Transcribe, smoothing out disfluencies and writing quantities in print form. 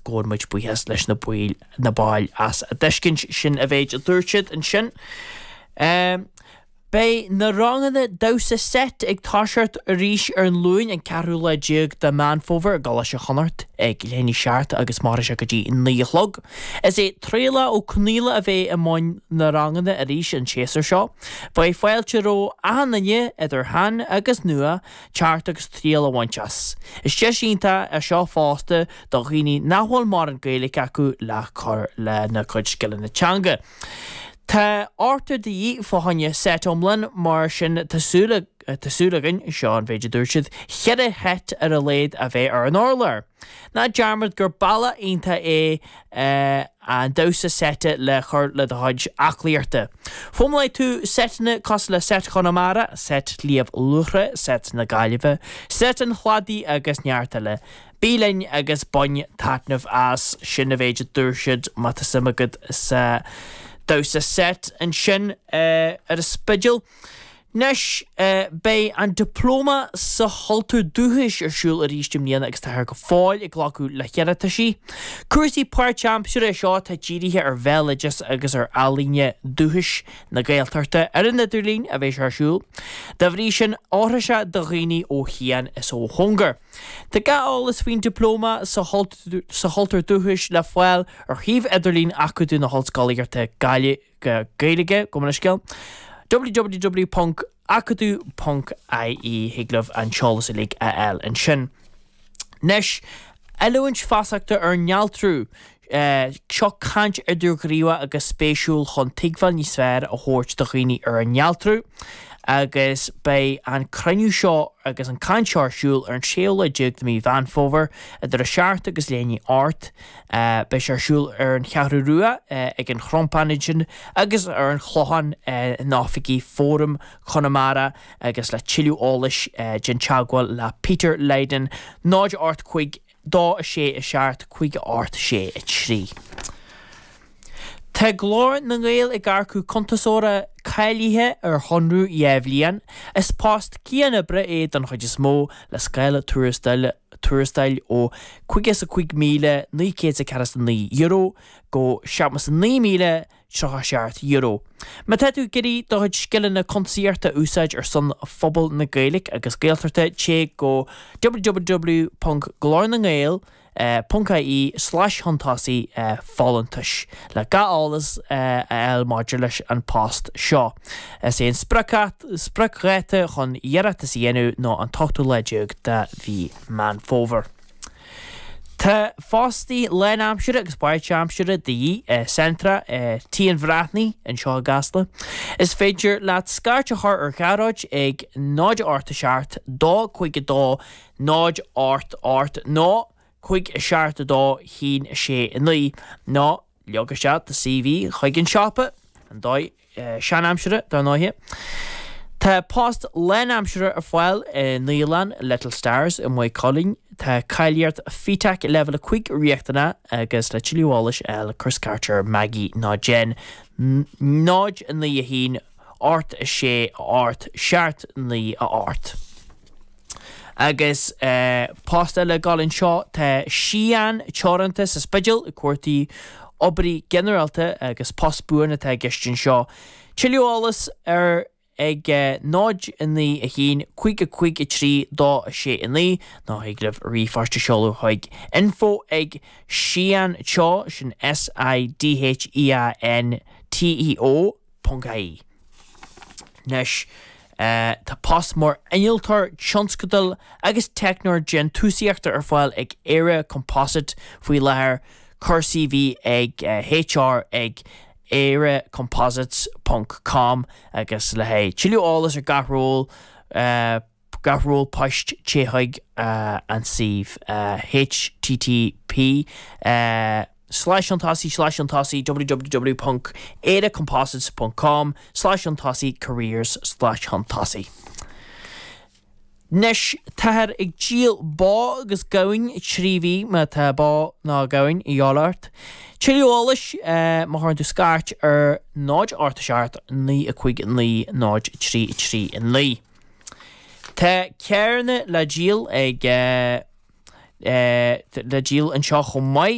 Gabhann muid buíochas leis na baill na baill as a dtuiscint. Sin a mhéid a dúirt siad ansin. Beidh na ranganna damhsa seit ag toiseacht arís ar an Luain an ceathrú lá déag de Meán Fómhair i gColáiste Chonnacht ag leath i ndiaidh 7 agus mairfidh sé go dtí 9 a chlog. Is é Traolach Ó Conaola a bheidh i mbun na ranganna arís an séasúr seo. Beidh fáilte roimh achan duine, idir shean agus nua, teacht agus triail a bhaint as. Is deis iontach é seo fosta do dhaoine nach bhfuil mórán Gaeilge acu le cur lena gcuid scileanna teanga. Tá ochtar de dhíth fá choinne seit iomlán, mar sin tá súil tá súil againn, seo an mhéid a dúirt siad, cheithre sheit ar a laghad a bheith ar an urlár. Ná dearmad gur bealach iontach é an damhsa seite le cur le do chuid aclaíochta. Foghlaimeoidh tú seiteanna cosúil le seit Chonamara, seit Shliabh Luachra, seit na Gaillimhe, seit an Chladaigh agus neart eile. Bí linn agus bain taitneamh as, sin a mhéid a dúirt siad má tá suim agat sa damhsa seit ansin ar an Spidéal. Anois, beidh an Dioplóma sa Chultúr Dúchais ar siúl arís i mbliana agus táthar go fóill ag glacadh le hiarrataisí. Cúrsa páirtaimseartha é seo atá dírithe ar bhéaloideas agus ar ealaíona dúchais na Gaeltachta ar an idirlíon a bheidh sé ar siúl. Dá bhrí sin, oirfidh sé do dhaoine ó chian is ó chóngar. Tá gach eolas faoin Dioplóma sa Chultúr Dúchais le fáil ar shuíomh idirlín Acadamh na hOllscolaíochta Gaeilge, gabh mo leithscéal, www.acadamh.ie. Thig libh an t-eolas uilig a fháil ansin. Anois, oiliúint feasachta ar néaltrú. Seo caint idirghníomhach agus spéisiúil chun tuigbheáil níos fearr a thabhairt do dhaoine ar an néaltrú agus beidh an cruinniú seo agus an caint seo ar siúl ar an séú lá déag de mhí Mheán Fómhair idir 7 agus leath i ndiaidh 8. Beidh sé ar siúl ar an Cheathrú Rua ag an Chrompán ansin agus ar an Chlochán in oifigí Fóram Chonamara agus le tuilleadh eolais déan teagmháil le Peter Lydon 0 8 5 2 6 7 5 8 6 3. Tá Glór na nGael ag earcú cuntasóra cáilithe ar chonradh 2 bhliain. Is post cianoibre é don chuid is mó, le scála tuarastail tuarastail ó €55,949 go €79,000 €37. Má tá tú ag iarraidh do chuid scileanna cuntasaíochta a úsáid ar son phobal na Gaeilge agus Gaeltachta, téigh go www.glornangael.ie slash chun tosaigh folúntais le gach eolas a fháil maidir leis an post seo. Is é an spriocdháta chun iarratas a dhéanamh ná an t-ochtú lá déag de mhí Meán Fómhair. Tá fostaí lánaimseartha agus páirtaimseartha de dhíth i Centra Tí an Bhreathnaigh anseo i gCasla. Is féidir leat scairt a chur ar Ghearóid ag 0 8 7 2 5 2 0 8 8 nó 5 7 2 1 6 9 nó leag isteach do CV chuig an siopa, an dóigh seanaimseartha, dar ndóighe. Tá post lánaimseartha ar fáil i naíolann Little Stars i Maigh Cuilinn. Tá cáilíocht FETAC Leibhéal 5 riachtanach agus le tuilleadh eolais a fháil cuir scairt ar Maggie nó Jen 0 9 1 8 6 8 7 9 8. Agus post eile ag dul anseo, tá Sidheán Teoranta sa Spidéal ag cuartú oibrí ginearálta agus post buan atá i gceist anseo. Tuilleadh eolas ar ag 0 9 1 5 5 3 2 6 9 nó thig libh ríomhphost a sheoladh chuig info ag Sidheán Teo, sin S I D H E A N T E O, ponc ie. Anois, tá post mar innealtóir tionscadail agus teicneoir déantúsaíochta ar fáil ag Éire Composite faoi láthair, cuir CV ag HR ag eirecomposites ponc com agus le haghaidh tuilleadh eolais ar gach ról, gach ról poist téigh chuig an suíomh http slash chun tosaigh slash chun tosaigh www ponc eirecomposites ponc com slash chun tosaigh careers slash chun tosaigh. Anois, táthar ag díol bó agus gamhain 3 mhí má tá bó nó gamhain a dhíobháil ort. Tuilleadh eolais má chuireann tú scairt ar 0 8 7 9 5 9 0 3 3 9. Tá carranna le díol ag le díol anseo chomh maith.